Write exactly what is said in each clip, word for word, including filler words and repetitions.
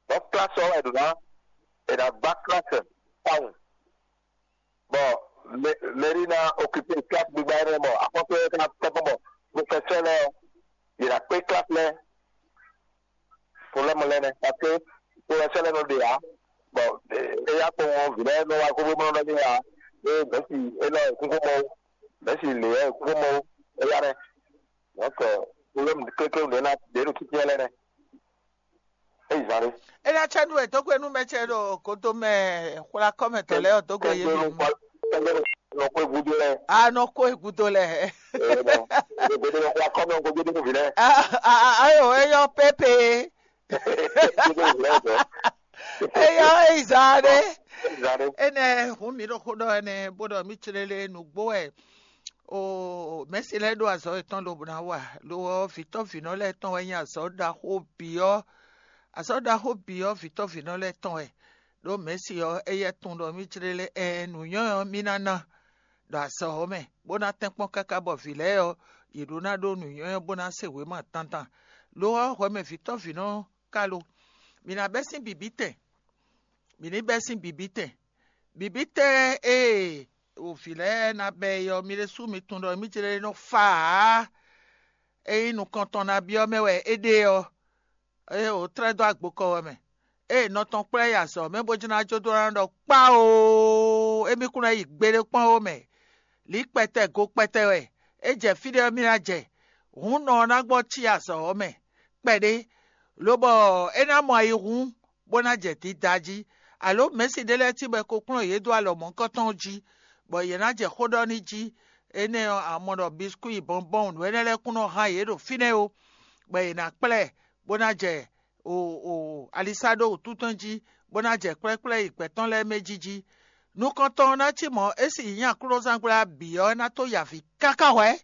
Bɔ klasi ɔ́ wɛ è ɖǒ ná è nǎ gbá klasi tawun, bɔ mɛri ná okipe klasi gbígbá énɛ́, bɔ axɔ́sú énɛ́ ká tɛ́nkpɔ́n bɔ profɛsɛ́ lɛ́ɛ ɔ́, yě ná kpé klasi lɛ́ɛ. Problème lɛ́ɛ nɛ́, parce que profɛsɛ́ lɛ́ɛ nɔ ɖe ǎ, bɔ éyá kpowun ɔ́, vǐ lɛ́ɛ nɔ wá xóxó bó nɔ ɖɔ n'i ǎ. Ée mɛ̌si élɔ́ è kún xó mɔ ó, mɛ̌si lě ɔ́ è kún xó mɔ ó, éyá nɛ́. Donc, problème kékeré ɖě ná ɖě ɖo títí lɛ́ɛ nɛ́. É yi zán ɖé. É ná cɛ nú wɛ dó gbe nú mɛ ce ɖo godo mɛ xwla kɔ́ mɛ tɔn lɛ́ɛ ɔ́ dó gbe yé mi. Nɔ xwé gúdo lɛ́ɛ. A nɔ kó e gúdo lɛ. Gúdo nɔ xwla kɔ́ mɛ gúdo nú vǐ lɛ́ɛ. Ayo, é yɔ pépé. Gúdo nú vǐ lɛ́ɛ zɔ. É yɔ é yi zán ɖé. É yi zán ɖé. Énɛ́ hǔn mǐ ɖo xó ɖɔ ɛnɛ bó ɖɔ mǐ clélé nǔgbó wɛ. O mɛ̌si lɛ́ɛ ɖó azɔ̌ yětɔn lobo ná wa. Lo ɔ́, vǐtɔ́ vǐnɔ lɛ́ɛ tɔn wɛ nyí azɔ̌ ɖaxó bǐ ɔ́. Azɔ̌ ɖaxó bǐ ɔ́, vǐtɔ́ vǐnɔ lɛ́ɛ tɔn wɛ. Ɖó mɛ̌si ɔ́, éyɛ́ tunwun ɖɔ mí jlé lɛ́ɛ ɛɛn nǔnywɛ́ ɔ́ mí ná ná ɖo azɔ̌ ɔ́ mɛ, bó ná tɛ́nkpɔ́n káká bɔ vǐ lɛ́ɛ ɔ́, yě ɖó ná ɖó nǔnywɛ́ ɔ́ bó ná se wěma dandan. Lo ɔ́, hwɛ mɛ vǐtɔ́ vǐnɔ ka lo. Mǐ ná bɛ́ sín bǐbítɛn. Mǐ ní bɛ́ sín bǐbítɛn. Bǐbítɛn e o vǐ lɛ́ɛ ná bɛ́ é ɔ́, mi ɖésú mi tunwun ɖɔ mí jlé nɔ fa ǎ. Ényí nukɔntɔn ná byɔ́ mɛ wɛ é ɖe ɔ́, é o tlɛ́ dó agbokɔ ɔ́ mɛ. Ée nɔ tɔn kplá yi azɔ̌ mɛ bó jló ná jó dó ná ɖɔ kpáoo, émí kún ná yi gbeɖé kpɔ́n ó mɛ. Lǐ kpɛtɛ go kpɛtɛ wɛ, é jɛ fí ɖé ɔ́ mì ná jɛ. Hǔn nɔ ɔ́ ná gbɔ cí azɔ̌ ɔ́ mɛ kpɛɖé, lobɔ é ná mɔ ayihún bó ná jɛ dida jí. Alo mɛ̌si ɖé lɛ́ɛ cí bɔ è ko kplɔ́n yě dó alɔ mɔ̌hunkɔtɔn jí, bɔ yě ná jɛ xó ɖɔ n'i jí. Énɛ́ ɔ́, a mɔ ɖɔ biskwíi, bɔnbɔn, nǔ énɛ́ lɛ́ɛ kún nɔ hán yě ɖo fínɛ́ ó, bɔ è nǎ kplá ɛ bó ná jɛ o o alisá ɖó wǔtúntɔn jí, bó ná jɛ kplɛ́kplɛ́ yi gbɛ̌ tɔn lɛ́ɛ mɛ jí jí. Nukɔntɔn ɔ́ ná cí mɔ̌, é sì nyí aklúnɔzángbla bǐ ɔ́ ná tó yi avǐ káká hwɛ̌.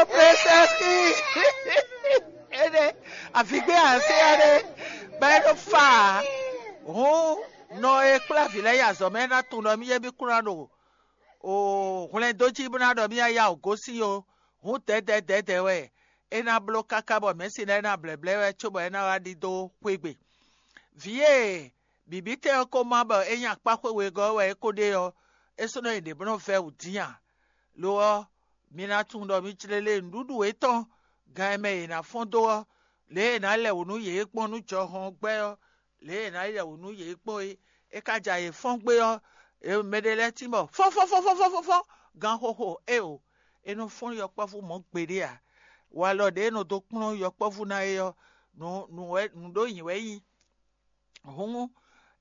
Opresɛski ene avigbé asé aɖe bɛ ɖo fa hɔn nɔ e kplá vǐ lɛ́ɛ yi azɔ̌ mɛ ná tunwun ɖɔ mí yɛ mí kplá ɖo o hwlɛndó jí bó ná ɖɔ mí yá yá o gosín o. Hǔn dɛ̌dɛ̌ dɛ̌dɛ̌ wɛ é ná bló káká bɔ mɛ̌si lɛ́ɛ ná blɛ̌blɛ́ wɛ cóbɔ é ná wá ɖidó xwé gbe. Vǐ e bǐbítɛn ɔ́ ko má bɔ é nyí akpá xwe wegɔ́ wɛ é ko ɖe ɔ́, é sɔ́ nɔ nyi ɖě bó nɔ́ vɛ́ wǔ dín ǎ. Lo ɔ́, mi ná tunwun ɖɔ mi jlé lé nǔɖuɖu yětɔn gan e mɛ yě ná fɔ́n dó ɔ́, lě e è nǎ lɛ wǔ nú yě gbɔn nú jɔhɔn gbɛ́ ɔ́, lě e è nǎ lɛ wǔ nú yě gbɔn é, é ka ja yě fɔ́n gbé ɔ́, mɛɖé lɛ́ɛ tín bɔ fɔ́nfɔ́nfɔ́nfɔ́nfɔ́n gan xóxó éeǒ. É nɔ fɔ́n yɔkpɔ́vú mɔ̌ gbeɖé ǎ. Walɔ ɖě e nɔ dó kplɔ́n yɔkpɔ́vú ná é ɔ́, nǔ nǔ wɛ nǔ ɖó nyǐ wɛ nyí. Hǔn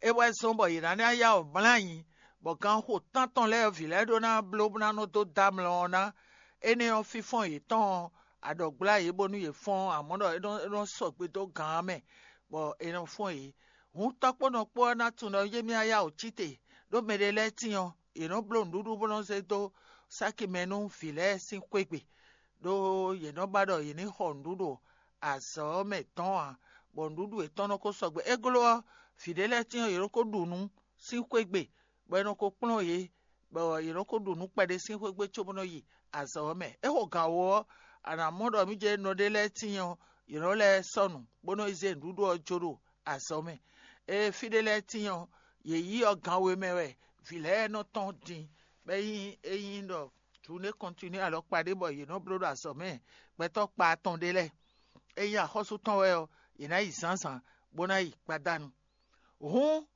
é wɛ zɔ́n bɔ yě ná ná yá wǔ mlá nyi, bɔ ganxo tántɔn lɛ́ɛ vǐ lɛ́ɛ ɖó ná bló bó ná nɔ dó dó amlɔ ɔ́ ná. Énɛ́ ɔ́, fínfɔ́n yětɔn ɔ́, aɖɔ̌gbla yě bónú yě fɔ́n, amɔ̌ ɖɔ é nɔ é nɔ sɔgbe dó gǎn ɔ́ mɛ, bɔ è nɔ fɔ́n yě. Hǔn tɔ́kpónɔ kpó ɔ́ ná tunwun ɖɔ yé mì yá wǔ cí te, ɖó mɛɖé lɛ́ɛ tíin ɔ́, yě nɔ bló nǔɖuɖu bó nɔ zé dó sáki mɛ nú vǐ lɛ́ɛ sín xwé gbe, ɖó yě nɔ ba ɖɔ yě ní xɔ nǔɖuɖu azɔ̌ ɔ́ mɛ dɔn ǎ, bɔ nǔɖuɖu yětɔn nɔ ko sɔgbe. É gló ɔ́, vǐ ɖé lɛ́ɛ tíin ɔ́, yě nɔ ko ɖu nǔ sín xwé gbe, bɔ è nɔ ko kplɔ́n yě, bɔ yě nɔ ko ɖu nǔ kpɛɖé sín xwé gbe cóbó nɔ yi azɔ̌ ɔ́ mɛ. É xo gǎn wó ɔ́, a nǎ mɔ ɖɔ mí jɛ nɔ ɖé lɛ́ɛ tíin ɔ́, yě nɔ lɛ́ sɔ́ nǔ, bó nɔ yi zé nǔɖuɖu ɔ́ jó ɖo azɔ̌ mɛ. Ée fí ɖé lɛ́ɛ tíin ɔ́, yě yí ɔ́ gan we mɛ wɛ vǐ lɛ́ɛ nɔ tɔ́n din, bɔ é nyí é nyí ɖɔ jǔnée kɔntinué alɔkpa ɖé bɔ yě nɔ bló ɖo azɔ̌ mɛ gbɛtɔ́ kpa atɔn ɖé lɛ́ɛ. É nyí axɔ́sú tɔn wɛ ɔ́, yě ná yi zǎnzǎn, bó ná yi gbadanu. Hǔn,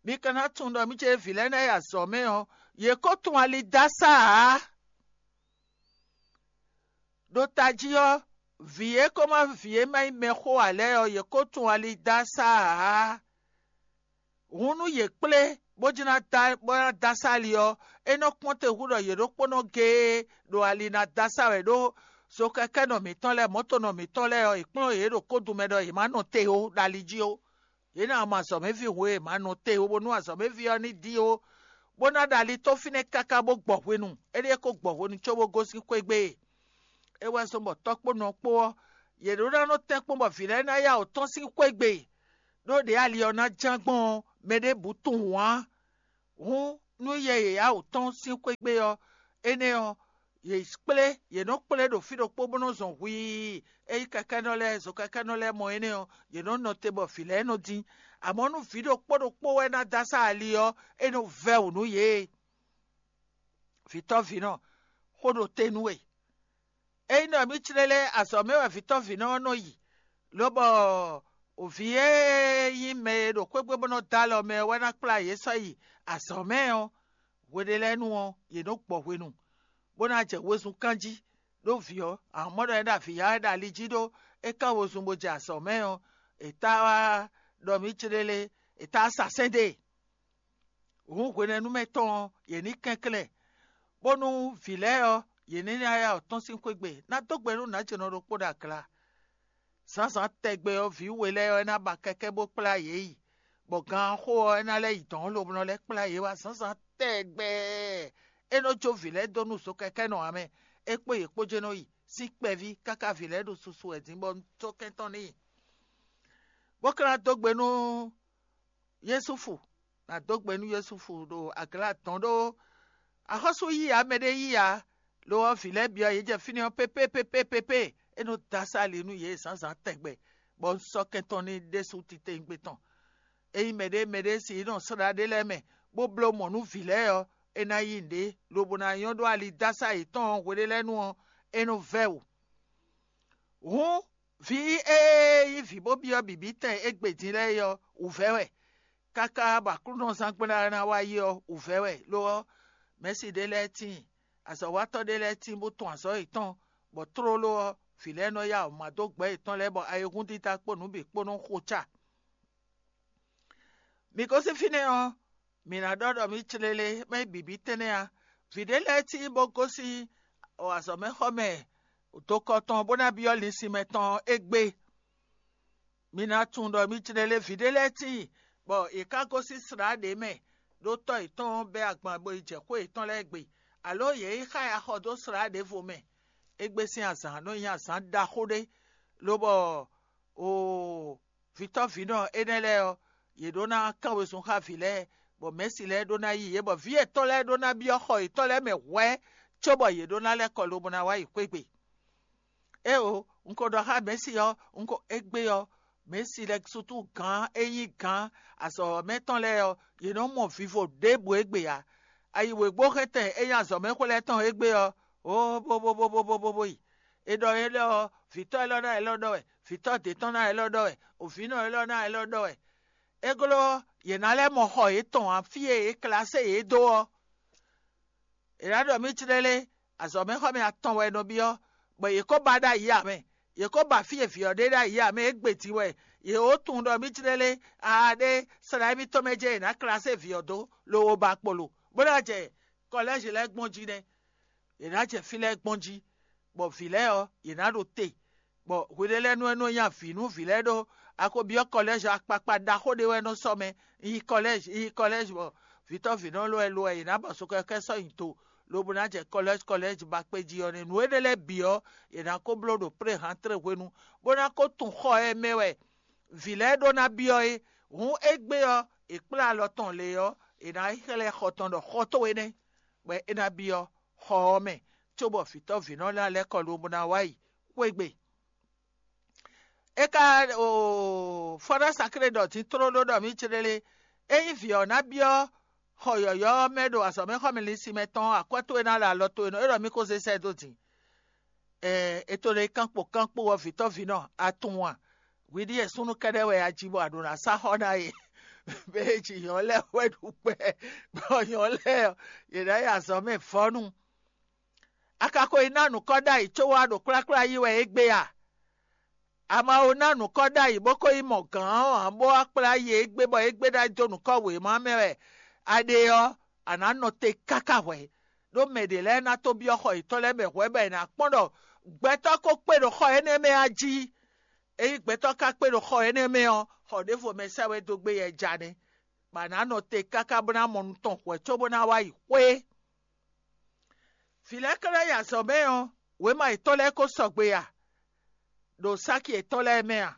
mi ka ná tunwun ɖɔ mí ce vǐ lɛ́ɛ ná yi azɔ̌ mɛ ɔ́, yě ko tunwun ali dó asá ǎ. Ɖo tají ɔ́, vǐ e ko má vǐ e má nyí mɛxó ǎ lɛ́ɛ ɔ́, yě ko tunwun ali dó asá ǎ. Hǔn nú yě kplé bó jló ná dó bó ná dó asá ali ɔ́, é nɔ kpɔ́n te hú ɖɔ yě ɖokpónɔ géé ɖo ali ná dó asá wɛ ɖó zokɛkɛ́nɔ mǐtɔn lɛ́ɛ, mɔ̌tonɔ mǐtɔn lɛ́ɛ ɔ́, è kplɔ́n yě ɖo kódun mɛ ɖɔ yě má nɔ te ó ɖo ali jí ó. Yě ná mɔ azɔ̌mɛví hwe e è ma nɔ te ó, bónú azɔ̌mɛví ɔ́ ní dín ó, bó ná ɖo ali tó fínɛ́ káká bó gbɔ hwenu. Éɖée ko gbɔ hwenu cóbó gosín xwé gbe e. É wɛ zɔ́n bɔ tɔ́kpónɔ kpó ɔ́, yě ɖó ná nɔ tɛ́nkpɔ́n bɔ vǐ lɛ́ɛ ná yá wǔ tɔ́n sín xwé gbe, ɖó ɖě ali ɔ́ ná ján gbɔn ɔ́, mɛ ɖěbǔ tunwun ǎ. Hǔn nú yɛ yěyáwǔ tɔn sín xwé gbe ɔ́, énɛ́ ɔ́, yě kplé, yě nɔ kplé ɖo fí ɖokpó bó nɔ zɔn hwii. Ényí kɛkɛ́nɔ lɛ́ɛ, zokɛkɛ́nɔ lɛ́ɛ mɔ énɛ́ ɔ́, yě nɔ nɔ te bɔ vǐ lɛ́ɛ nɔ dín. Amɔ̌ nú vǐ ɖokpó ɖokpó wɛ ná dó asá ali ɔ́, é nɔ vɛ́ wǔ nú yě. Vǐtɔ́vǐnɔ, xó ɖo te nú we. Ényí ɖɔ mǐ clé lɛ́ɛ azɔ̌ mɛ wɛ vǐtɔ́vǐnɔ ɔ́ nɔ yi, lobɔ vǐ e nyí mɛ e ɖo xwé gbe bó nɔ dó alɔ mɛ wɛ ná kplá yě sɔ́ yi azɔ̌ mɛ ɔ́, hwe ɖé lɛ́ɛ nu ɔ́, yě nɔ gbɔ hwenu, bó ná jɛ wezun kán jí. Ɖó vǐ ɔ́, ahɔ̌nmɔ́ ɖɔ é ɖo avǐ ya wɛ ɖo ali jí ɖó é kán wezun bó jɛ azɔ̌ mɛ ɔ́, è tá wá ɖɔ mǐ clélé, è tá wá sa sɛ́n dó e. Hǔn hwenɛ́nu mɛ tɔn ɔ́, yě ní kɛnklɛ́n, bónú vǐ lɛ́ɛ ɔ́, yě ní ná ya ɔ́ tɔ́n sín xwé gbe, ná dó gbe nú nǎjɛnɔ ɖokpó ɖo agla. Zǎnzǎn tɛgbɛ ɔ́, vǐ we lɛ́ɛ ɔ́, é ná ba kɛkɛ́ bó kplá yě yi, bɔ ganxó ɔ́, é ná lɛ́ yi dɔ̌n lobo nɔ lɛ́ kplá yě wá zǎnzǎn tɛgbɛ. É nɔ jó vǐ lɛ́ɛ dó nú zokɛkɛ́nɔ ǎ mɛ, é kpó yě kpó jɛ́n nɔ yi sín kpɛví káká vǐ lɛ́ɛ ɖo susu wɛ dín bɔ un tó kɛntɔ́ n'i. Bó ka ná dó gbe nú Yúsufu, ná dó gbe nú Yúsufu ɖo agla dɔn ɖó axɔ́sú yíyá mɛ ɖé yíyá, lo ɔ́, vǐ lɛ́ɛ byɔ́ yě jɛ fínɛ́ ɔ́ pépé pépé pépé. É nɔ dó asá ali nú yě zǎnzǎn tɛgbɛ, bɔ un sɔ́ kɛntɔ́ n'i ɖésú titewungbe tɔn. Ényí mɛɖé mɛɖé si nɔ slá ɖé lɛ́ɛ mɛ, bó bló mɔ̌ nú vǐ lɛ́ɛ ɔ́, é ná yí nǔɖé, lobo ná nyɔ́ ɖó ali dó asá yětɔn ɔ́ hwe ɖé lɛ́ɛ nu ɔ́, é nɔ vɛ́ wǔ. Hǔn vǐ e nyí vǐ bó byɔ́ bǐbítɛn égbé din lɛ́ɛ é ɔ́, wǔvɛ́ wɛ, káká bɔ aklúnɔzán gblá ná wá yi ɔ́, wǔvɛ́ wɛ. Lo ɔ́, mɛ̌si ɖé lɛ́ɛ tíin, azɔ̌watɔ́ ɖé lɛ́ɛ tíin bó tɔn azɔ̌ yětɔn, bɔ tlóló ɔ́, vǐ lɛ́ɛ nɔ yá wǔ má dó gbɛ̌ yětɔn lɛ́ɛ, bɔ ayihún dídá kpó nǔ bǐ kpó nɔ́ xo ca. Mi gosín fínɛ́ ɔ́, mǐ ná ɖɔ ɖɔ mǐ clélé, mɛ bǐbí tɛ́nnɛ ǎ. Vǐ ɖé lɛ́ɛ tíin bó gosín azɔ̌mɛxɔmɛ dokɔ tɔn bó ná byɔ́ linsin mɛ tɔn égbé. Mi ná tunwun ɖɔ mǐ clélé vǐ ɖé lɛ́ɛ tíin, bɔ yě ká gosín slǎ ɖě mɛ, ɖó tɔ́ yětɔn bɛ́ agban bo yi jɛ xwé yětɔn lɛ́ɛ gbe, alǒ yě yi xá ya xɔ dó slǎ ɖěvo mɛ. Égbé sín azǎn nɔ nyí azǎn ɖaxó ɖé, lobɔ oo, vǐtɔ́vǐnɔ énɛ́ lɛ́ɛ ɔ́, yě ɖó ná kán wezun xá vǐ lɛ́ɛ, bɔ mɛ̌si lɛ́ɛ ɖó ná yí yě, bɔ vǐ yětɔn lɛ́ɛ ɖó ná byɔ́ xɔ yětɔn lɛ́ɛ mɛ hwɛ̌, cóbɔ yě ɖó ná lɛ́ kɔ lobo ná wá yi xwé gbe. Éeǒ, un ko ɖɔ xá mɛ̌si ɔ́, un ko égbé ɔ́, mɛ̌si lɛ́ɛ sútú gǎn e nyí gǎn azɔ̌mɛ tɔn lɛ́ɛ ɔ́, yě nɔ mɔ vivo ɖěbǔ égbé ǎ. Ayi wěgbóxɛntɛn e nyí azɔ̌mɛxwé lɛ́ɛ tɔn égbé ɔ́, ó bó bó bó bó bó bó bó yi. È ɖɔ énɛ́ ɔ́, vǐtɔ́ élɔ́ ná élɔ́ ɖɔ wɛ, vǐtɔ́ d'é tɔn ná élɔ́ ɖɔ wɛ, òvǐnɔ élɔ́ ná élɔ́ ɖɔ wɛ. É glɔ́ ɔ́, yě ná lɛ́ mɔ xɔ yětɔn ǎ, fí e yě klasé yě dó ɔ́. È nǎ ɖɔ mǐ clélé, azɔ̌mɛxɔmɛ atɔn wɛ è nɔ byɔ́, bɔ yě ko ba ɖ'ayǐ ǎ mɛ. Yě ko ba fí e vǐ ɔ́ ɖe ɖ'ayǐ ǎ mɛ, é gbe din wɛ. Yě wǒ tunwun ɖɔ mǐ clélé, aa ɖé, slá émítɔn mɛ jɛ́n è nǎ klasé vǐ ɔ́ dó, lobo ba kpolo, bó ná jɛ kɔlɛ́zi lɛ́ɛ gbɔn jí nɛ́. È nǎ jɛ fí lɛ́ɛ gbɔn jí, bɔ vǐ lɛ́ɛ ɔ́, yě ná ɖo te, bɔ hwe ɖé lɛ́ɛ nú é nɔ nya vǐ nú vǐ lɛ́ɛ ɖó. A ko byɔ́ kɔlɛ́zi akpakpa ɖaxó ɖé wɛ nɔ sɔ́ mɛ, yi kɔlɛ́zi, yi kɔlɛ́zi, bɔ vǐtɔ́vǐnɔ lɔ wɛ lo wɛ yě ná ba sukɛkɛ sɔ́ nyi do, lobo ná jɛ kɔlɛ́zi kɔlɛ́zi ba kpé jí ɔ́ nɛ́. Nǔ énɛ́ lɛ́ɛ bǐ ɔ́, yě ná ko bló ɖo pré-hantré hwenu, bó ná ko tunwun xɔ e mɛ wɛ vǐ lɛ́ɛ ɖó ná byɔ́ é. Hǔn égbé ɔ́, è kplá alɔ tɔn lě ɔ́, è nǎ yi xlɛ́ xɔ tɔn ɖɔ xɔ towe nɛ́, bɔ é ná byɔ́ xɔ ɔ́ mɛ, cóbɔ vǐtɔ́vǐnɔ ná lɛ́ kɔ lobo ná wá yi xwé gbe. É ka oo, fɔ́ ná saklé ɖɔ din tlóló ɖɔ mǐ clélé, ényí vǐ ɔ́ ná byɔ́ xɔ yɔ̌yɔ́ ɔ́ mɛ ɖo azɔ̌mɛxɔmɛ linsin mɛ tɔn ɔ́, akwɛ́ towe ná ɖo alɔ towe nɔ, é ɖɔ mí ko zé sɛ́ dó din. Ɛɛ, è to ɖe kánpo kánpo ɔ́, vǐtɔ́vǐnɔ, a tunwun a? Hwi ɖíe súnnu kɛ́ɖɛ́ wɛ a ji bɔ a ɖǒ ná sá xɔ ná e. Mɛ e ji nyɔ̌ lɛ́ɛ wɛ ɖu kpɛ, bɔ nyɔ̌ lɛ́ɛ ɔ́, yě ná yi azɔ̌ mɛ vɔ́nu. A ka ko yi ná nǔkɔ ɖ'ayǐ có wá ɖo kplákplá yí wɛ égbé a? A ma ko ná nǔkɔ ɖ'ayǐ bó ko yi mɔ gǎn ɔ́ ǎ, bó wá kplá yí égbé bɔ égbé ná dó nǔkɔ wěma mɛ wɛ a ɖe ɔ́, a nǎ nɔ te káká hwɛ̌. Ɖó mɛ ɖě lɛ́ɛ ná tó byɔ́ xɔ yětɔn lɛ́ɛ mɛ hwɛ̌ bɔ è nǎ kpɔ́n ɖɔ gbɛtɔ́ ko kpé ɖo xɔ énɛ́ mɛ a jí. Ényí gbɛtɔ́ ka kpé ɖo xɔ énɛ́ mɛ ɔ́, xɔ ɖěvo mɛ sɛ́ wɛ dó gbé yɛ ja nɛ́, bɔ a nǎ nɔ te káká bó ná mɔ nú tɔn hwɛ̌ cóbó ná wá yi xwé. Vǐ lɛ́ɛ ka ná yi azɔ̌ mɛ ɔ́, wěma yětɔn lɛ́ɛ ko sɔgbe a? Ɖo sáki yětɔn lɛ́ɛ mɛ a?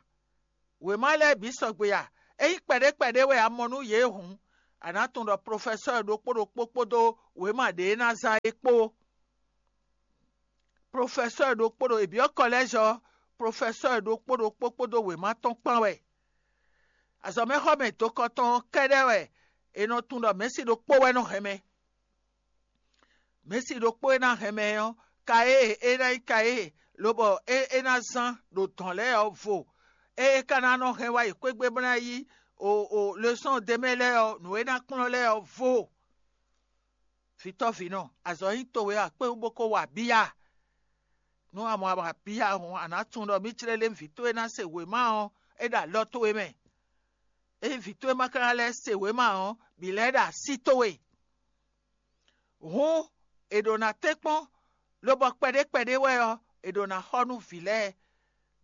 Wěma lɛ́ɛ bǐ sɔgbe a? Ényí kpɛɖé kpɛɖé wɛ a mɔ nú yě hǔn, A nǎ tunwun ɖɔ profɛsɔ́ɔ ɖokpó ɖokpó kpódó wěma ɖě e ná zán é kpó. Profɛsɔ́ɔ ɖokpó ɖo è byɔ́ kɔlɛ́zɔ, profɛsɔ́ɔ ɖokpó ɖokpó kpódó wěma tɔn kpán wɛ. Azɔ̌mɛxɔmɛ dokɔ tɔn ɔ́ kɛ́ɖɛ́ wɛ è nɔ tunwun ɖɔ mɛ̌si ɖokpó wɛ nɔ hɛn mɛ. Mɛ̌si ɖokpó e ná hɛn mɛ ɔ́, ka e é ná nyí ka e lobɔ é é ná zán ɖo dɔ̌n lɛ́ɛ ɔ́ vo. É é ka ná nɔ hɛn wá yi xwé gbe bó ná yí o o lesɔ́n ɖ'é mɛ lɛ́ɛ ɔ́, nǔ e é ná kplɔ́n lɛ́ɛ ɔ́ vo. Vǐtɔ́ vǐnɔ, azɔ̌ nyí towe a kpé wú bó ko wa abíya? Nú a mɔ abíya hɔn, a nǎ tunwun ɖɔ mǐ clé lé vǐ towe ná se wěma ɔ́, é ɖo alɔ towe mɛ. Ényí vǐ towe ma ka ná lɛ́ se wěma ɔ́, bǐ lɛ́ ɖo así towe. Hǔn è ɖǒ ná tɛ́nkpɔ́n, lobɔ kpɛɖé kpɛɖé wɛ ɔ́, è ɖǒ ná xɔ nú vǐ lɛ́ɛ,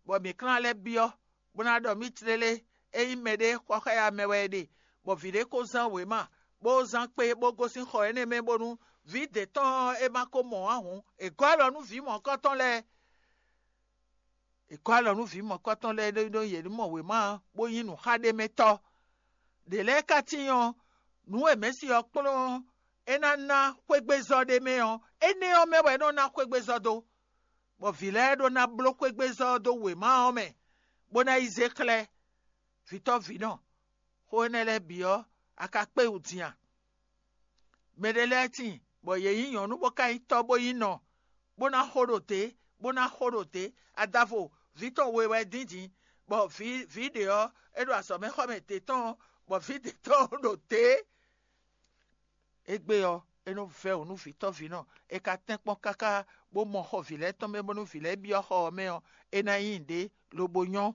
bɔ mǐ ka ná lɛ́ byɔ́, bó ná ɖɔ mǐ clélé, ényí mɛɖé xɔ xá ya mɛ wɛ è ɖe, bɔ vǐ ɖé ko zán wěma, bó zán kpé, bó gosín xɔ énɛ́ mɛ bónú vǐ d'é tɔn ɔ́ é ma ko mɔ ǎ hǔn, è gɔ́ alɔ nú vǐ mɔ̌kɔ́tɔn lɛ́ɛ. È gɔ́ alɔ nú vǐ mɔ̌kɔ́tɔn lɛ́ɛ ɖó ɖó yě ní mɔ wěma ɔ́, bó nyí nǔxaɖémɛtɔ́. Ɖě lɛ́ɛ ka tíin ɔ́, nǔ e mɛ̌si ɔ́ kplɔ́n ɔ́, é ná ná xwégbezɔ́ ɖé mɛ ɔ́, énɛ́ ɔ́ mɛ wɛ é nɔ ná xwégbezɔ́ dó, bɔ vǐ lɛ́ɛ ɖó ná bló xwégbezɔ́ ɔ́ dó wěma ɔ́ mɛ, bó ná yi zé xlɛ́ vǐtɔ́ vǐnɔ. Xó énɛ́ lɛ́ɛ bǐ ɔ́, a ka kpé wú din a? Mɛɖé lɛ́ɛ tíin, bɔ yě nyí nyɔ̌nu bó ka nyí tɔ́ bó nyí nɔ, bó ná xo ɖo dě, bó ná xo ɖo dě. Adavo, vǐ tɔn we wɛ dǐndín, bɔ vǐ vǐ ɖě ɔ́, é ɖo azɔ̌mɛxɔmɛ dě tɔn, bɔ vǐ dě tɔn ɖo dě. Égbé ɔ́, é nɔ vɛ́ wǔ nú vǐtɔ́ vǐnɔ; è ka tɛ́n kpɔ́n káká bó mɔ xɔ vǐ lɛ́ɛ tɔn mɛ bónú vǐ lɛ́ɛ byɔ́ xɔ ɔ́ mɛ ɔ́, é ná nyí nǔɖé lobo nyɔ́.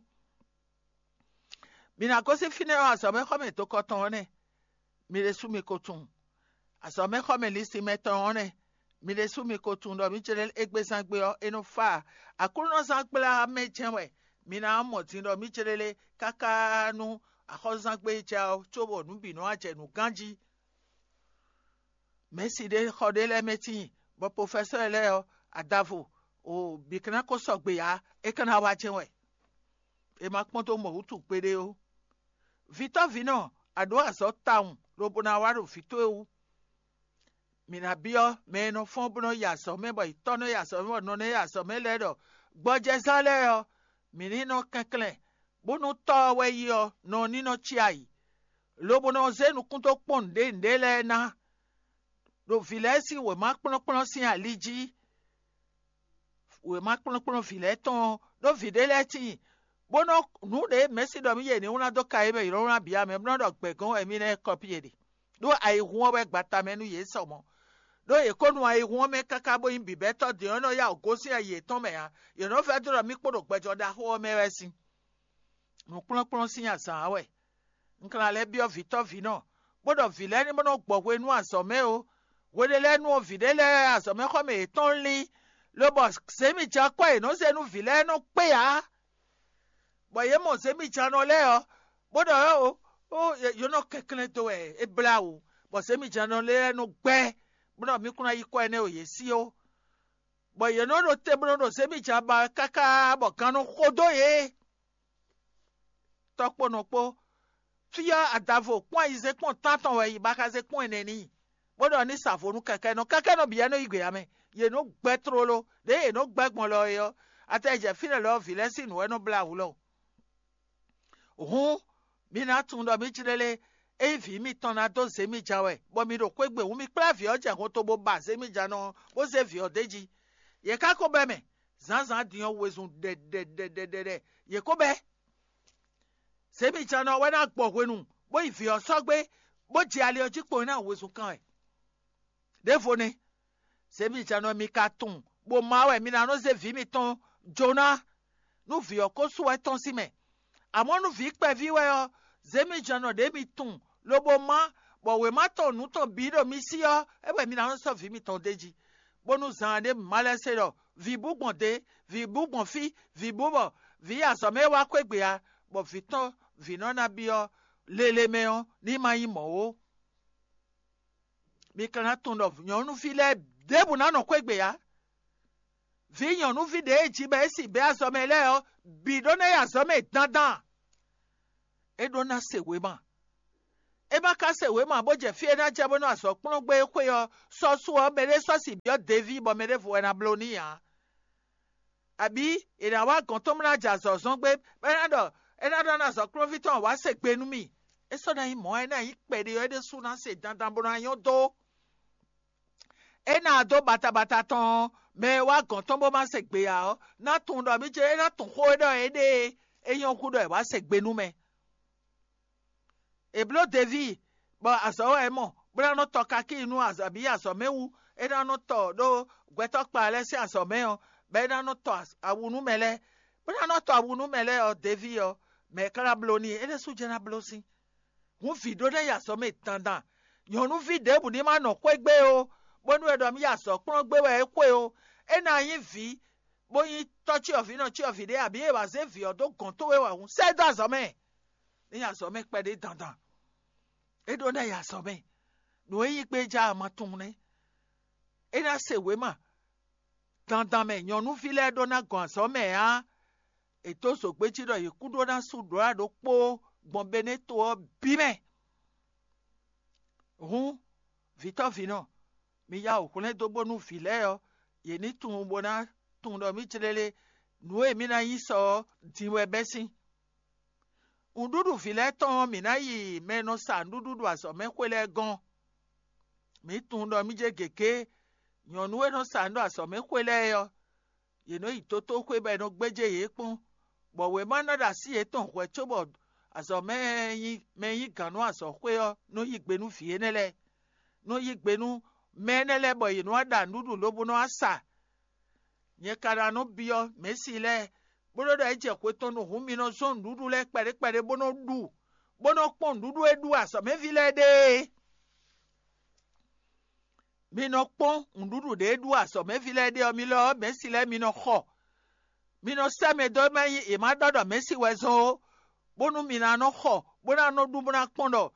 Mi ná gosín fínɛ́ ɔ́, azɔ̌mɛxɔmɛ dokɔ tɔn ɔ́ nɛ́; mi ɖésú mi ko tunwun. Azɔ̌mɛxɔmɛ linsinmɛ tɔn ɔ́ nɛ́; mi ɖésú mi ko tunwun ɖɔ mǐ jlɛ́ égbézán gbe ɔ́, é nɔ fá ǎ. Aklúnɔzán gbla mɛ jɛ́n wɛ mi ná mɔ din ɖɔ mǐ jlɛ́ lé káká nú axɔ́súzángbe jɛ ɔ́, cóbɔ nǔ bǐ nɔ wá jɛ nǔ ganjí. Mɛ̌si ɖé xɔ ɖé lɛ́ɛ mɛ tíin, bɔ profɛsɔ́ɔ lɛ́ɛ ɔ́, adavo o bǐ ka ná ko sɔgbe ǎ; é ka ná wá jɛ́n wɛ. È ma kpɔ́n dó mɔ wútu gbeɖé ó. Vǐtɔ́ vǐnɔ, a ɖǒ azɔ̌ tawun lobo ná wá ɖo vǐ towe wú. Mǐ ná byɔ́ mɛ e nɔ fɔ́n bó nɔ́ yi azɔ̌ mɛ, bɔ yi tɔ́ nɔ́ yi azɔ̌ mɛ, bɔ nɔ nɔ́ yi azɔ̌ mɛ lɛ́ɛ ɖɔ gbɔjɛzán lɛ́ɛ ɔ́, mǐ ní nɔ kɛnklɛ́n, bónú tɔ́ ɔ́ wɛ yi ɔ́, nɔ ní nɔ cí ayǐ, lobo nɔ zé nukún dó kpɔ́n nǔɖé nǔɖé lɛ́ɛ ná, ɖo vǐ lɛ́ɛ sín wěma kplɔ́nkplɔ́n sín ali jí. Wěma kplɔ́nkplɔ́n vǐ lɛ́ɛ tɔn ɔ́, ɖó vǐ ɖé lɛ́ɛ tíin, bó nɔ́ nǔ ɖě mɛ̌si ɖɔ mì yě ní wlán dó ka e mɛ yě nɔ wlán bǐ ǎ mɛ, bó nɔ́ ɖɔ gbɛ̌ gɔ́n wɛ mì ná yi kɔ́ yě ɖe, ɖó ayihún ɔ́ wɛ gbata mɛ nú yě sɔ mɔ̌. Ɖó yě ko nu ayihún ɔ́ mɛ káká bó nyí bǐbɛ́tɔ́ din ɔ́ nɔ yá wǔ gosín ayi yětɔn mɛ ǎ; yě nɔ vɛ́ dó ɖɔ mì kpo ɖo gbɛjɔ́ ɖaxó ɔ́ mɛ wɛ sín. Nǔkplɔ́nkplɔ́n sín azǎn ǎ wɛ. Un ka ná lɛ́ byɔ́ vǐtɔ́ vǐnɔ, bó ɖɔ vǐ lɛ́ɛ ní bó nɔ́ gbɔ hwe nú azɔ̌ mɛ ó. Hweɖé lɛ́ɛ nu ɔ́, vǐ ɖé lɛ́ɛ azɔ̌mɛxɔmɛ yětɔn lín, lobɔ zěmijǎkwɛ́ e è nɔ zé nú vǐ lɛ́ɛ nɔ kpé ǎ, bɔ yě mɔ zěmijǎnɔ lɛ́ɛ ɔ́, bó ɖɔ ó, ó, yě nɔ kɛnklɛ́n dó wɛ é blá wǔ, bɔ zěmijǎnɔ lɛ́ɛ nɔ gbɛ́, bó ɖɔ mì kún ná yí kɔ énɛ́ ɖo yě sí ó, bɔ yě nɔ ɖo te bó nɔ ɖo zěmijǎn ba wɛ káká bɔ gan nɔ xo dó yě. Tɔ́ kpó nɔ kpó. Fí ɔ́, adavo kpɔ́n ayizɛ́n kpɔ́n tántɔn wɛ yi ba xá zé kpɔ́n ɛnɛ n'i, bó ɖɔ ní sa vo nú kɛkɛ́nɔ. Kɛkɛ́nɔ bǐ wɛ nɔ yí gbe ǎ mɛ; yě nɔ gbɛ́ tlóló. Ɖěe yě nɔ gbɛ́ gbɔn lɔ é ɔ́, atɛ jɛ fínɛ́ lɔ ɔ́, vǐ lɛ́ɛ sín nǔ wɛ nɔ blá wǔ lɔ. Hǔn, mi ná tunwun ɖɔ mǐ jlé lé, ényí vǐ mitɔn ná dó zě mi ja wɛ, bɔ mi ɖo xwé gbe hǔn, mi kplá vǐ ɔ́ jɛ hɔnto bó ba zě mi ja nɔ ɔ́, bó zé vǐ ɔ́ d'é jí. Yě ká ko bɛ́ mɛ, zǎnzǎn din ɔ́ wezun ɖɛɖɛɖɛɖɛɖɛ, yě ko bɛ́. Zě mi ja nɔ wɛ ná gbɔ hwenu, bó yi vǐ ɔ́ sɔ́ gbé, bó jɛ ali ɔ́ jí kpo ná wezun kan wɛ. Ɖěvo nɛ́, zě mi ja nɔ mi ka tunwun, bó má wɛ mi ná nɔ zé vǐ mitɔn jó ná, nú vǐ ɔ́ ko sú wɛ tɔ́n sín mɛ. Amɔ̌ nú vǐ kpɛví wɛ ɔ́, zě mi ja nɔ ɖě mi tunwun, lobo má, bɔ wěma tɔn nǔ tɔn bǐ ɖo mi sí ɔ́, é wɛ mi ná nɔ sɔ́ vǐ mitɔn d'é jí, bónú zan ɖé ma lɛ́ se ɖɔ vǐ bú gbɔn dě, vǐ bú gbɔn fí, vǐ bú bɔ vǐ yi azɔ̌ mɛ wá xwé gbe ǎ, bɔ vǐ tɔn vǐ nɔ ná byɔ́ lele mɛ ɔ́, ní ma nyí mɔ̌ ó. Mi ka ná tunwun ɖɔ nyɔ̌nuví lɛ́ɛ ɖěbǔ ná nɔ xwé gbe ǎ. Vǐ nyɔ̌nuví ɖě e ji bɔ é si bɛ́ azɔ̌ mɛ lɛ́ɛ ɔ́ bǐ ɖó ná yi azɔ̌ mɛ dandan. É ɖó ná se wěma. É ma ka se wěma bó jɛ fí e ná jɛ bónú azɔ̌ kplɔ́n gbé é xwé ɔ́, sɔ́ su ɔ́, mɛɖé sɔ́ si byɔ́ Deví bɔ mɛ ɖěvo wɛ ná bló n'i ǎ. Abǐ è nǎ wá gɔ̌n tɔn bó ná jɛ azɔ̌ zɔ́n gbé, bɔ é ná ɖɔ é ná ɖɔ ná azɔ̌ kplɔ́nví tɔn wǎ se gbe nú mì. É sɔ́ ná nyí mɔ̌, é ná nyí kpɛɖé ɔ́, é ɖésú ná se dandan bó ná nyɔ́ dó. É ná dó batabata tɔn ɔ́, mɛ e wá gɔ̌n tɔn bó ma se gbe ǎ ɔ́, ná tunwun ɖɔ mì ce é ná tunwun xó e ɖɔ é ɖe é, é nyɔ́ hú ɖɔ è wǎ se gbe nú mɛ. È bló Deví, bɔ azɔ̌ wɛ é mɔ, bó ná nɔ tɔ kakíi nú azɔ̌ bǐ azɔ̌ mɛ wú; é ná nɔ tɔ ɖó gbɛtɔ́ kpa lɛ́ɛ sín azɔ̌ mɛ ɔ́, bɔ é ná nɔ tɔ awu nú mɛ lɛ́ɛ, bó ná nɔ tɔ awu nú mɛ lɛ́ɛ ɔ́, Deví ɔ́, mɛ̌ ka ná bló n'i? É ɖésú jɛ́n ná bló sín. Hǔn vǐ ɖó ná yi azɔ̌ mɛ dandan. Nyɔ̌nuví ɖěbǔ ní ma nɔ xwé gbé ó, bónú è ɖɔ mì yi azɔ̌ kplɔ́n gbé wɛ é xwe ó. É ná nyí vǐ, bó nyí tɔ́ cyɔvǐnɔ cyɔvǐ ɖé, abǐ è wǎ zé vǐ ɔ́ dó gɔ̌n towe wɛ hǔn, sɛ́ dó azɔ̌ mɛ. Ní yi azɔ̌ mɛ kpɛɖé dandan. É ɖó ná yi azɔ̌ mɛ. Nǔ e nyí gbéjá ɔ́ ma tunwun nɛ́. É ná se wěma dandan mɛ nyɔ̌nuví lɛ́ɛ ɖó ná gɔn azɔ̌ mɛ ǎ. È dó zǒgbéjí ɖɔ yě kú ɖó ná sú ɖǒ ɖokpó gbɔn Benéto ɔ́ bǐ mɛ. Hǔn, vǐtɔ́vǐnɔ, mi ya wǔ hwlɛ́n dó bónú vǐ lɛ́ɛ ɔ́, yě ní tunwun bó ná tunwun ɖɔ mǐ jlélé nǔ e mǐ ná nyí sɔ ɔ́ din wɛ bɛ́ sín. Nǔɖuɖu vǐ lɛ́ɛ tɔn ɔ́, mǐ ná yi mɛ e nɔ sa nǔɖuɖu ɖo azɔ̌mɛxwé lɛ́ɛ gɔ́n. Mǐ tunwun ɖɔ mí jɛ gěgé nyɔ̌nu e nɔ sa nǔ ɖo azɔ̌mɛxwé lɛ́ɛ é ɔ́, yě nɔ yi dotóxwé bɔ è nɔ gbéjé yě kpɔ́n, bɔ wěma ná ɖo así yětɔn hwɛ̌ cóbɔ azɔ̌ mɛ e nyí mɛ e nyí gǎn nú azɔ̌xwé ɔ́ nɔ yí gbe nú vǐ énɛ́ lɛ́ɛ, nɔ yí gbe nú mɛ énɛ́ lɛ́ɛ bɔ yě nɔ wá ɖa nǔɖuɖu lobo nɔ wá sa. Nyɛ ka ná nɔ byɔ́ Mɛ̌si lɛ́ɛ, bó nɔ́ ɖɔ é jɛ xwe tɔn nu hǔn mi nɔ zɔ́n nǔɖuɖu lɛ́ɛ kpɛɖé kpɛɖé bó nɔ́ ɖu, bó nɔ́ kpɔ́n nǔɖuɖu e ɖu azɔ̌mɛví lɛ́ɛ ɖe é. Mi nɔ kpɔ́n nǔɖuɖu ɖě e ɖu azɔ̌mɛví lɛ́ɛ ɖe ɔ́, mi lɔ ɔ́, Mɛ̌si lɛ́ɛ mi nɔ xɔ. Mi nɔ sɛ́ mɛ dó mɛ nyí è ma ɖɔ ɖɔ Mɛ̌si wɛ zɔ́n ó, bónú mi ná nɔ xɔ, bó ná nɔ ɖu bó ná kpɔ́n ɖɔ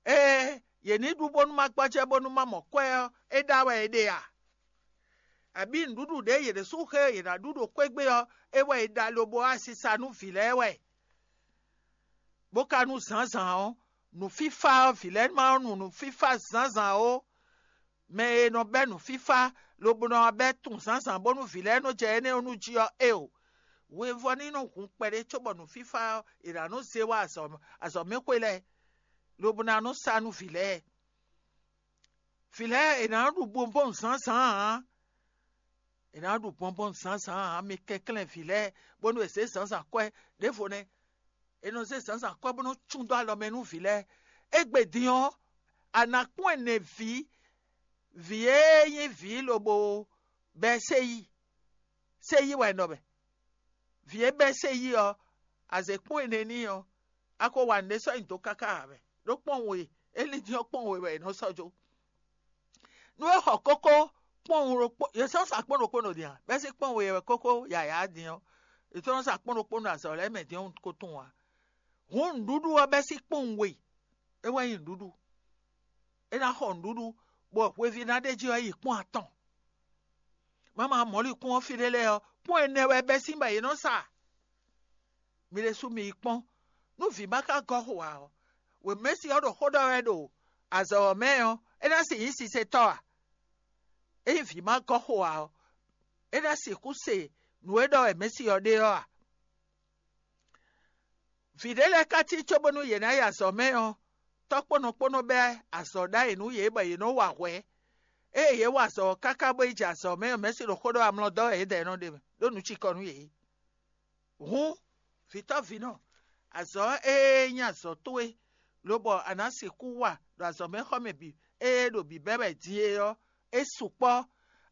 ée yě ní ɖu bónú ma gbɔjɛ́ bónú ma mɔ kwɛ́ ɔ́, é ɖa wɛ è ɖe a? Abǐ nǔɖuɖu ɖě yě ɖésú xe yě ná ɖu ɖo xwé gbe ɔ́, é wɛ è ɖa lobo wá sisa nú vǐ lɛ́ɛ wɛ, bó ka nú zǎnzǎn ɔ́, nǔfífá ɔ́, vǐ lɛ́ɛ ma nɔ nu nǔfífá zǎnzǎn ó. Mɛ e nɔ bɛ́ nǔfífá lobo nɔ wá bɛ́ tunwun zǎnzǎn bónú vǐ lɛ́ɛ nɔ jɛ énɛ́ ɔ́ nu jí ɔ́, éeǒ. Hwevɔ́ ní nɔ hun kpɛɖé cóbɔ nǔfífá ɔ́, è nǎ nɔ zé wá azɔ̌ azɔ̌mɛxwé lɛ́ɛ, lobo ná nɔ sa nú vǐ lɛ́ɛ. Vǐ lɛ́ɛ è nǎ ɖu bɔnbɔn zǎnzǎn ǎ. È nǎ ɖu bɔnbɔn zǎnzǎn ǎ, mi kɛnklɛ́n vǐ lɛ́ɛ bónú è zě zǎnzǎn kwɛ́ ɖěvo nɛ́. È nɔ zé zǎnzǎn kwɛ́ bó nɔ́ cún dó alɔ mɛ nú vǐ lɛ́ɛ. Égbé din ɔ́, a nǎ kpɔ́n ɛnɛ vǐ, vǐ e nyí vǐ lobo bɛ́ séyí. Séyí wɛ è nɔ bɛ. Vǐ e bɛ́ séyí ɔ́, a zě kpɔ́n ɛnɛ n'i ɔ́, a ko wa nǔɖé sɔ́ nyi dǒ káká ǎ wɛ, ɖó kpɔ́n we, é lín din ɔ́ kpɔ́n we wɛ è nɔ sɔ́ jó. Nú é xɔ kókó kpɔ́nwun ɖokpó, yě sɔ́ sa kpɔ́n ɖokpó nɔ din a? Bɛ́ sín kpɔ́nwun e wɛ kókó yǎyá din ɔ́, yě tɔ́ nɔ sa kpɔ́n ɖokpó nɔ azɔ̌ lɛ́ɛ mɛ din ɔ́ ko tunwun ǎ. Hǔn nǔɖuɖu ɔ́ bɛ́ sín kpɔ́nwun we, é wɛ nyí nǔɖuɖu. É ná xɔ nǔɖuɖu, bɔ hweví ná ɖ'é jí ɔ́ yi kpɔ́n atɔn. Mama mɔ̌likún ɔ́ fí ɖé lɛ́ɛ ɔ́, kpɔ́n ɛnɛ wɛ bɛ́ sín bɔ yě nɔ sa. Mi ɖésú mi yi kpɔ́n, nú vǐ ma ka gɔ́ xo ǎ ɔ́, wěmɛ́si ɔ́ ɖo xó ɖɔ wɛ ɖo azɔ̌ ɔ́ mɛ ɔ́, é ná sixú nyí sisetɔ́ a? Ényí vǐ ma gɔ́ xo ǎ ɔ́, é ná sixú se nǔ e ɖɔ wɛ mɛ̌si ɔ́ ɖe ɔ́ a? Vǐ ɖé lɛ́ɛ ka cí cóbónú yě ná yi azɔ̌ mɛ ɔ́, tɔ́kpɔ́nɔ kpó nɔ bɛ́ azɔ̌ ɖ'ayǐ nú yě bɔ yě nɔ wa hwɛ̌. Ée yě wa azɔ̌ ɔ́ káká bó yi jɛ azɔ̌ mɛ ɔ́, mɛ̌si ɖo xó ɖɔ wɛ amlɔ dɔ́ wɛ yědɛɛ nɔ ɖe mɛ, ɖó nǔ cikɔ nú yě. Hǔn, vǐtɔ́vǐnɔ, azɔ̌ e nyí azɔ̌ towe, lobɔ a nǎ sixú wa ɖo azɔ̌mɛxɔmɛ bǐ e ɖo bǐbɛ́ wɛ din é ɔ́, é sukpɔ́.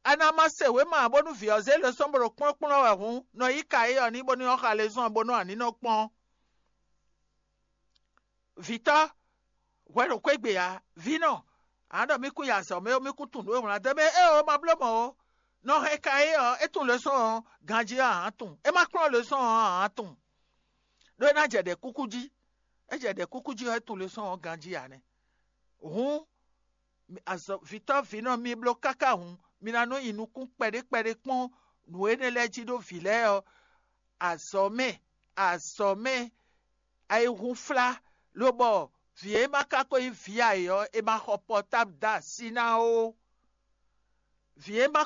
A nǎ ma se wěma ǎ bónú vǐ ɔ́ zé lɛ́sɔ́n bó ɖo kplɔ́nkplɔ́n wɛ hǔn, nɔ yí ka éyɔ́ n'i bónú é xɔ alezɔ́ ɔ́ bónú a ní nɔ kpɔ́n. Vǐtɔ́, hwɛ ɖo xwé gbe ǎ, vǐnɔ, a nǎ ɖɔ mì kún yi azɔ̌ mɛ ó, mì kún tunwun nǔ e wlán dó mɛ éeǒ, ma bló mɔ̌ ó. Nɔ hɛn ka é ɔ́, é tunwun lěsɔ́ ɔ́ ganjí ɔ́, a nǎ tunwun; é ma kplɔ́n lěsɔ́ ɔ́, a nǎ tunwun. Ɖó é ná jɛ ɖɛ̌ kúkú jí; é jɛ ɖɛ̌ kúkú jí ɔ́, é tunwun lěsɔ́ ɔ́ ganjí ǎ nɛ́. Hǔn, azɔ̌ vǐtɔ́ vǐnɔ mi bló káká hǔn, mi ná nɔ nyi nukún kpɛɖé kpɛɖé kpɔ́n nǔ énɛ́ lɛ́ɛ jí ɖó vǐ lɛ́ɛ ɔ́, azɔ̌ mɛ, azɔ̌ mɛ ayihúnflá, lobɔ Vǐ e ma ka ko nyí vǐ ayǐ ɔ́, è ma xɔ pɔtáblu dó así ná ó. Vǐ e ma